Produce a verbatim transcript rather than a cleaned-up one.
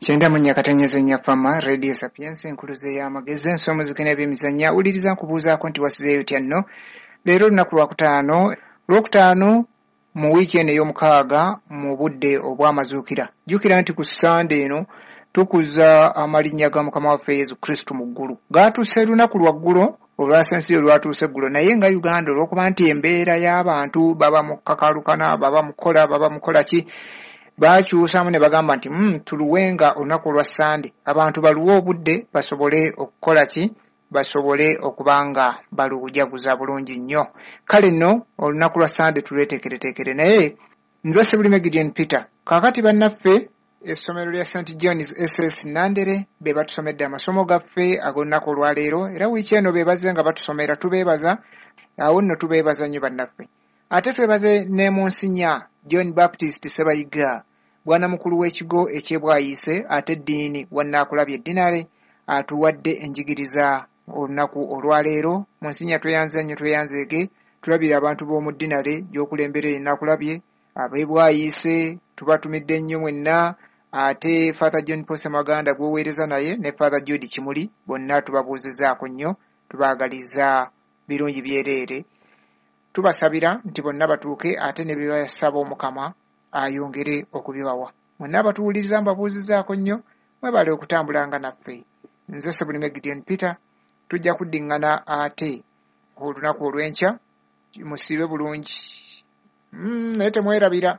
Kyenda mu nnya katonyeze nnya Fama Radio Sapienza, enkuluze y'amagezi, ensomuziki n'ebyemizannyo. Awuliriza nkubuuzaako nti wasuzeeyo otya nno? Leero olunaku lwakutaano, Lwokutaano mu wiiki eno ey'omukaaga mu budde obw'amazuukira. Jjukira nti ku Ssande eno tukuza amalinnya ga Mukama waffe Yesu Kristo mu ggulu. Gaatuuse lunaku lwa ggulo, olwasensiyo lwatuuse eggulo, naye nga Uganda olw'okuba nti embeera y'abantu baba mu kakalukana, baba mu kukola, baba mu kukola ki, baakyusamu ne bagamba nti mm, tuluwenga olunaku olwa Ssande abantu baluwe obudde basobole okukola ki, basobole okuba nga balujaguza bulungi nnyo. Kale nno olunaku lwa Ssande tulweteekereteekere. Naye nze Ssebulime Gideon Peter. Kaakati bannaffe essomero lya Saint John's S S Nandere be batusomedde amasomo gaffe ag'olunaku olwaleero, era wiiki eno be bazze nga batusomera, tubeebaza. Awo nno tubeebaza nnyo bannaffe. Ate twebaze ne Munsinya John Baptist Ssebayiga, bwana mukulu w'ekigo eky'Ebwayiise ate eddiini wannaakulabye eddinale, atuwadde enjigiriza olunaku olwaleero. Munsinya tweyanze nnyo, tweyanzeege, tulabira abantu b'omu ddinale gy'okulembera ennaakulabye, ab'Ebwayiise tubatumidde nnyo mwenna, ate Father John Paul Ssemaganda gw'oweereza naye ne Father Jude Kimuli bonna tubabuuzizaako nnyo, tubaagaliza birungi byereere. Tubasabira nti bonna batuuke ate ne bye basaba Omukama ayongere okubibawa. Mwenna abatuwuliriza mbabuuzizaako nnyo, mwebale okutambulanga naffe. Nze Ssebulime Gideon Peter, tujja kuddiŋŋana ate olunaku olw'enkya, musiibe bulungi. Mm, naye temwerabira.